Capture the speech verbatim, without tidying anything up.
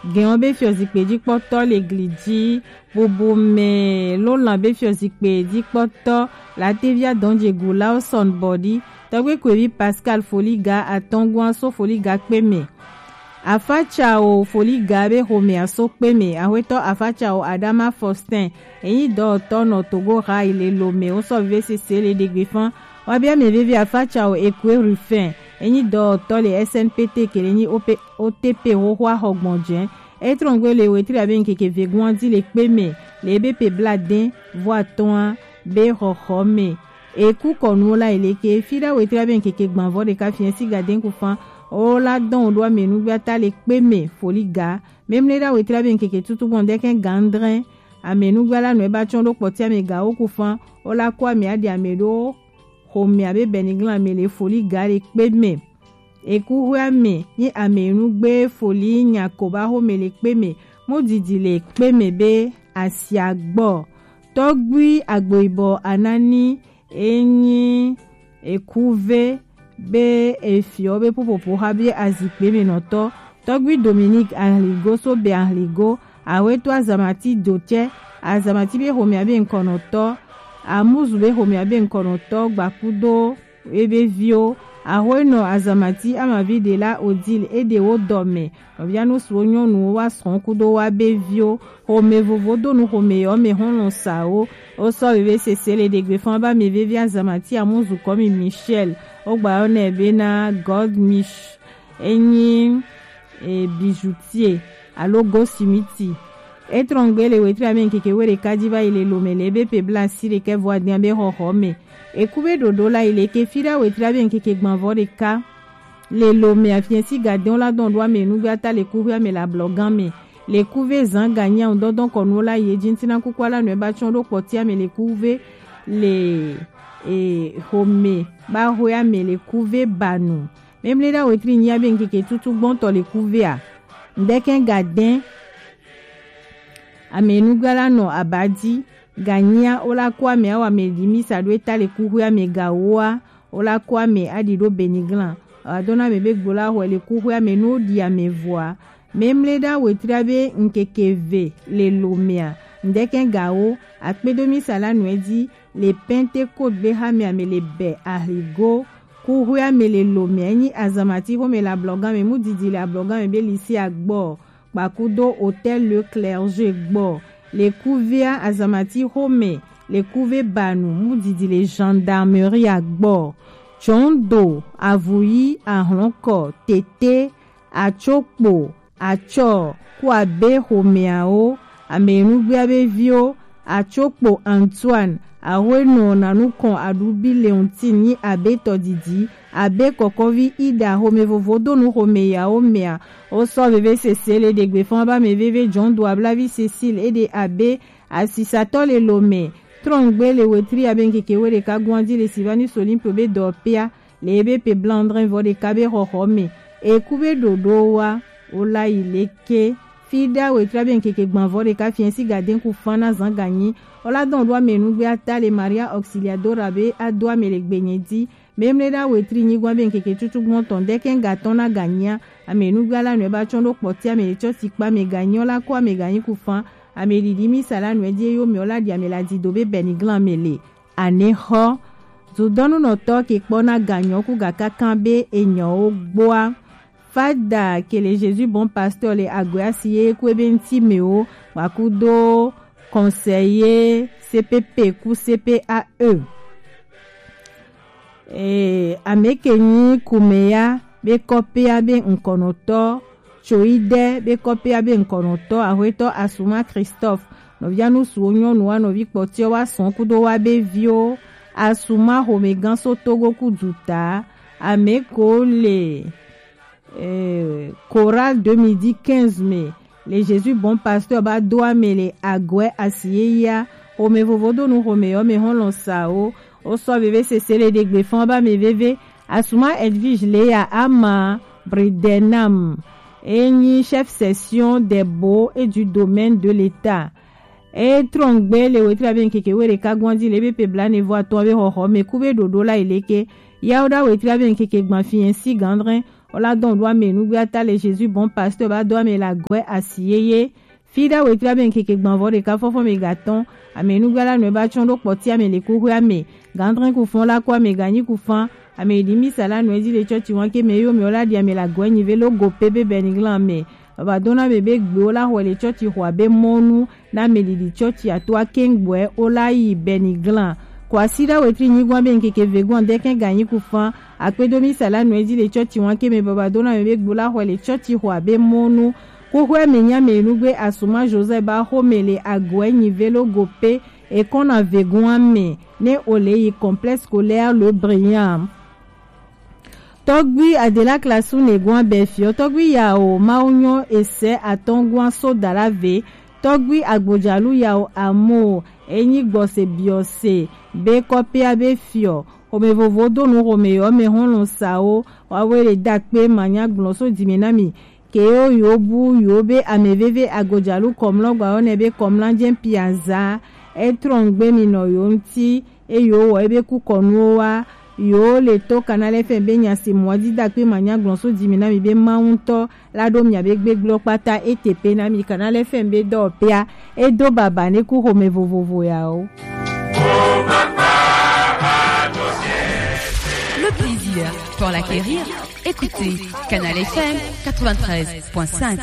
Gɛn ɔ be fiɔzikpe jikpɔtɔ le gli ji, bubu mɛ lo lan be fiɔzikpe jikpɔtɔ, Latevia Dɔnjegu Lawson Bɔdi, tɔgbe kwevi Pascal Foliga atɔngua so Foliga kpe mɛ. Afatsao Foliga be xomɛ aso kpe mɛ, axwetɔ Afatsao Adama Faustin, enyi dɔwɔtɔ nɔ Togo Rail le Lomé, wo sɔ vivi sese le ɖegbe fan. Wa bia mɛ vivi Afatsao Ekwe Rufin, enyi dɔwɔtɔ le S N P T ke le nyi O P, O T P xoxo axɔgbɔn jɛ. E trɔngbe le wetri abe nkeke vegun adi le kpe mɛ, le ebe pe bla dɛn vo atɔn a be xɔxɔ mɛ. Eku kɔnuwo la yi le ke, fi ɖa wetri abe nkeke gbanvɔ ɖeka fiɛ si ga dɛn ku fan, o la dɔn o ɖo amɛnugbe ata le kpe mɛ Foliga. Memle ɖa wetri abe nkeke tutu gbɔn dɛkɛn gandrɛn, amɛnugbe la nɔ e ba tsɔn ɖo kpɔti amɛ ga wo ku fan, o la ko amɛ aɖi amɛ ɖo xomɛ abe bɛniglan amɛ le Foliga le kpe mɛ. Eku xwe amɛ nyi amɛnugbe Foli nya ko ba xomɛ le kpe mɛ, mu didi le kpe mɛ be asia gbɔ. Tɔgbui agboibɔ anani enyi ekuve be efiɔ be popopo xa be azikpe mɛ nɔtɔ. Tɔgbui Dominique Ahligo so be Ahligo, awe to azamati do tsɛ, azamati be xomɛ abe nkɔnɔtɔ, amuzu be xomɛ abe nkɔnɔtɔ, gbakudo ebe viwo, axwenɔ azamati amavi ɖe la Odile eɖe wo dɔ mɛ, nɔvia nu suwo nyɔnuwo wa srɔ̃ kudo wa be viwo, xomɛ vovo do nu xomɛ yɔ mɛ xɔlɔn sawo, wo sɔ veve sese le ɖegbe fan ba mɛ veve azamati amuzu kɔmi Michel, wo gba yɔ nɛ be na God Mich enyi e, bijoutier alo goldsmith. Etrɔngbe le wetri ame nkeke we ɖeka ji va yi le Lomé le ebe pe bla si ɖekɛ vo adian be xɔxɔ mɛ. Eku be ɖoɖo la yi le ke fi ɖa wetri abe nkeke gbanvɔ ɖeka le Lomé afiɛ si gadɛn la dɔn ɖo ame nugbe ata le kuxi ame le ablɔgan mɛ. Le kuve zan ganya ŋdɔndɔn kɔnuwo la yi edzi ŋtina kuku ala nɔ eba tsɔn ɖo kpɔti ame le kuve le e, xomɛ ba xwe ame le kuve banu. Memle ɖa wetri nyia be nkeke tutu gbɔntɔ le kuvea. Ŋdɛkɛ gadɛn. Ame nugba la nɔ abadi. Ganyia wo la ko ame awa ame ɖi misa ɖo eta le kuxwe ame gawoa. Wo la ko ame aɖi ɖo beniglan. Awa dona ame be gbo la xɔe le kuxwe ame nu ɖi ame vɔa. Memle ɖa wetri be nkeke ve le Lomé a. Ŋdɛkɛ gawo. Akpedo misa la nɔe dzi. Le Pentecôte be xamɛ ame le bɛ ahigo. Kuxwe ame le Lomé nyi azamati xomɛ le ablɔgan mɛ mu didi le ablɔgan mɛ be lycée agbɔ. Kpakudo hôtel Le Clergé gbɔ. Le kuvea azamati xomɛ le kuve banu mu didi le gendarmerie agbɔ. Tsɔndo avuyi ahlɔnkɔ tete atsokpo atsɔ ku abe xomɛawo, ame nugbea be viwo, atsokpo Antoine, axwenɔ nanukɔn aɖubi Leontine nyi abe tɔdidi, abe kɔkɔvi Ida xomɛ vovo do nu xomɛ yawo mɛa, wo sɔ veve sese le ɖegbe fan ba mɛ veve jɔn do ablavi Cécile eɖe abe asisatɔ le Lomé, trɔngbe le wetri abe nkeke we ɖeka guandi le Sylvanus Olympe be dɔ pea, le ebe pe blandrin vɔ ɖeka be xɔxɔ mɛ. Eku be ɖoɖo wa wo la yi le ke. Fi ɖa wetri abe nkeke gbanvɔ ɖeka fiɛ si gadɛn ku fan na zan ganyi. Wo la dɔn ɖo ame nugbe ata le Maria Auxiliadora be ado ame le gbenye di. Memle ɖa wetri nyigba be nkeke tutu gbɔntɔ ŋdɛkɛ gatɔn na ganyia. Ame nugbe ala nɔe ba tsɔn ɖo kpɔti ame le tsɔ si kpa ame ganyi wo la ko ame ganyi ku fan. Ame ɖiɖi misa la nɔe di eyo mɛ wo la ɖi ame la di do be bɛniglan ame le. Anexɔ. Dudɔnunɔtɔ ke kpɔ na ganyɔ ku gakakan be enyɔwo gboa. Fada ke le Jésus Bon Pasteur le agoe asi ye ku ebe ŋti mɛ wo, wakudo conseiller C P P ku C P A E. E, ame ke nyi kumeya be kɔpea be ŋkɔnɔtɔ, tso yi ɖe be kɔpea be ŋkɔnɔtɔ, axwetɔ Asuma Christophe, nɔvia nusuwo nyɔnua nɔvi kpɔtiɔ wa sɔn kudo wa be viwo, Asuma xomɛgan so Togo ku duta, ame ko le, eh, Chorale de midi quinze mɛ, le Jésus Bon Pasteur ba do ame le agoe asi ye ya, xomɛ vovo do nu xomɛ yɔ mɛ hɔn lɔn sa o, o sɔ veve sese le ɖegbe fan ba mɛ veve, Asuma Edwige Leya Ama Bridenam, e nyi chef section des baux et du domaine de l'État. E trɔngbe le wetri abe nkeke we ɖeka guandi le be pe bla ne vo atɔn be xɔxɔ mɛ ku be ɖoɖo la yi le ke. Yawo ɖa wetri abe nkeke gban fiɛ si gandrin. Ola dɔn ɖo ame nugbe ata le Jésus bon pasteur ba do ame la gwe asi yeye. Fida wetri ame keke gbanvɔ ɖeka fɔfɔ ame gatɔn. Ame nugbe la nɔe ba tsɔn ɖo kpɔti ame le kuxwe ame. Gandrin kufɔn la ko ame ganyi kufan. Ame ɖi misa la nɔe di le tsɔtsi wan ke me yo me ola ɖi ame la gwe nyi ve lo go pe be bɛniglan ame. Baba dona me be gbe ola xɔ le tsɔtsi xɔ abe mɔnu na me ɖiɖi tsɔtsi ato akengbɔe ola yi bɛniglan. Kwasi ɖa wetri nyigɔn be nkeke vegon dɛkɛn ganyi kufan. Akpedo misa la nɔe di le tsɔtsi wan ke me baba dona me be gbe ola xɔ le tsɔtsi xɔ abe mɔnu. Kuxwe me nya me nugbe asuma Joseph ba xo me le agoe nyi ve lo go pe. Ekɔna vegon ame ne o le yi complexe scolaire le Brillant. Tɔgbi adela klasu ne gwan bɛ fiɔ tɔgbi yawo mawu nyɔ esɛ atɔn gwan so dala ve. Tɔgbi agbodzalu yawo amo enyi gbɔse biɔse be kɔpia be fiɔ. Xome vovo do nu xome yɔ me hɔn lɔn sawo wawe le dakpe manya gblɔ so dime na mi. Ke yo yo bu yo be ame veve agodzalu kɔmlɔ gba yo ne be kɔmla jɛ piaza. Etrɔn gbe mi nɔ yo ŋti. Eye wowɔ ebe kukɔnuwo wa. Yewo le to Canal F M be nya si mɔ di dakpe manya gblɔ so dzi mi na mi be Mawu ŋutɔ la ɖo mia be gbegblɔ kpata ete pe na mi. Canal F M be dɔwɔpea edo baba ne ku xome vovovo yawo. Le plaisir pour l'acquérir, écoutez Canal F M quatre-vingt-treize point cinq.